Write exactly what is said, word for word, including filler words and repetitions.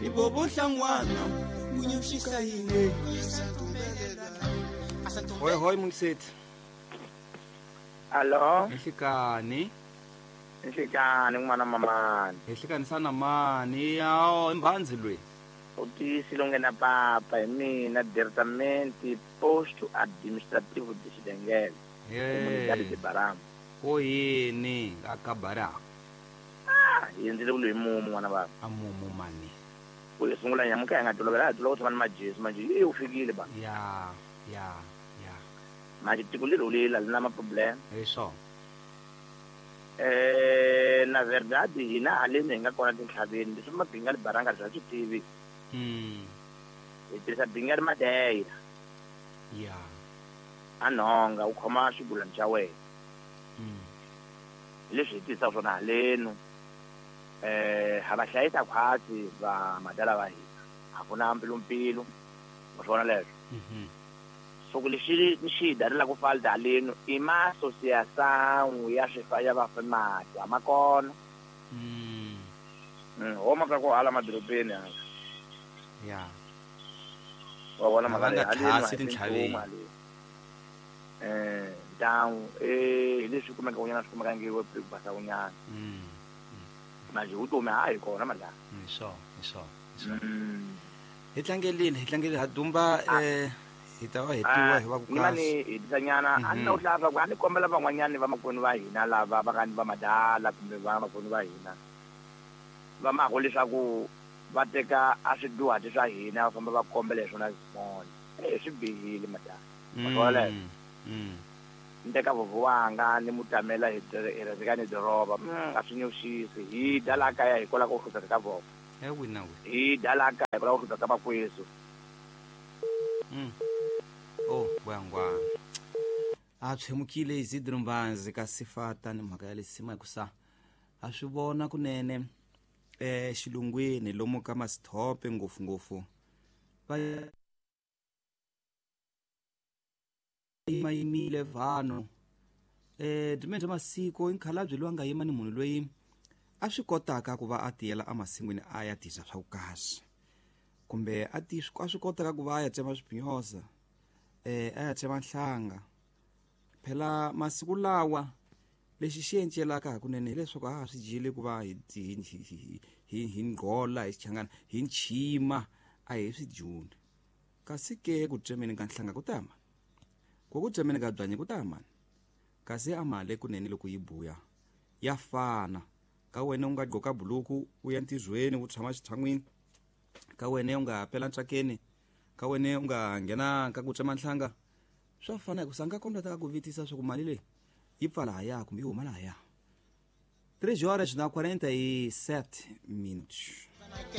Ibobohlangwana kunyushisa yini. Hoi hoi mungisethi. Allo. Nhlikani. Nhlikani n'wana mamani. Nhlikani sana mani ya imbhanzi lwe. Utiyisile nghena papa hi mina diretamente posto administrativo de Xidengele. Comunidade de Barama. Ko yini aka Barama? Ah, yenzile kulo imumu n'wana baba. Amumu mani. Ku sungula nyamuka ya nga tolovela tolovela ku tshama ni majesi manje yi u fikile ba. Ya, ya, ya. Manje tiko leri lela li na ma-problem. Hi swona. Eh, na verdade hina haleni hi nga kona tintlhaveni leswi mabinga li baranga bya swi tivi. Mm. Hi tirhisa binga ri madeira. Ya. A nhonga u khoma xigulani xa wena. Mm. Leswi hi tirhisaka swona halenu. Eh, ha va hlayisa khwatsi va madala va hina. A ku na mpfilumpfilu. Wa swona leswo. Mhm. So ku lexi ni xi darila ku falta halenu i ma associação ya swifa ya vafemati a ma kona. Mm. Mm, homa ka ku hala madorobeni hala. Ya. Wa vona Va nga mhaka leyi, haleni thasi a hi tintlhaveni. nchumu haleni. Eh, ntangu eh hi leswi kumeka kunyana swi kumeka nge ku basa kunyana. Mm. Manje vutomi ha hi kona madala. Hi swona, hi swona, hi swona. Mm. Hi tlangelile, hi tlangelile ha dumba eh hi ta va hetiwa hi va ku ni kasi. mani hetisanyana a ni na ku hlaya ku a ni kombela van'wanyani vamakwenu va hina lava va nga ni va madala kumbe vamakwenu va hina va mako leswaku va teka a swiduhati swa hina va famba va kombela hi swona swin'wana. Eh swi bihile madala. Mm. Mm. Ni teka vovho wanga ni mu tamela hi hi doroba a swi nyuxisi hi dya laha kaya hikwalaho ka ku hlupheka ka vona. Eh wina we. Hi dya laha kaya hikwalaho ka ku hlupheka ka makwesu. Mm. Oh, bwangwa. A tshemukile Isidro Mbanzi ka sifata ni mhaka ya lesima hikusa a swi vona kunene eh xilungwini lomu ka masithope ngopfu ngopfu va yimile vanhu eh dimende masiko inkhalabye loyi a nga yima ni munhu loyi a swi kotaka ku va a tiyela emasin'wini a ya tisa swa vukahle kumbe a ti a swi kotaka ku va a ya tsema swipinyosa eh a ya tsema nhlanga. Phela masiku lawa lexi xi encelaka hakunene hileswaku a ha swi dyile ku va hi hi hi hi nghola hi xichangana hi nchima a hi swi dyuni. Kasi ke ku tsemeni ka nhlanga ku ta mani, ku ku tsemeni ka byanyi ku ta mani, kasi a mali kunene loko yi buya ya fana. Ka wena u nga gqoka buluku u ya ntirhweni u tshama xitshan'wini, ka wena u nga pela ntsakeni, ka wena u nga nghena ka ku tsema nhlanga, swa fana hikusa nga kona ta ku vitisa swa ku mali leyi yi pfa lahaya kumbe yi huma lahaya. três horas na quarenta e sete minutos.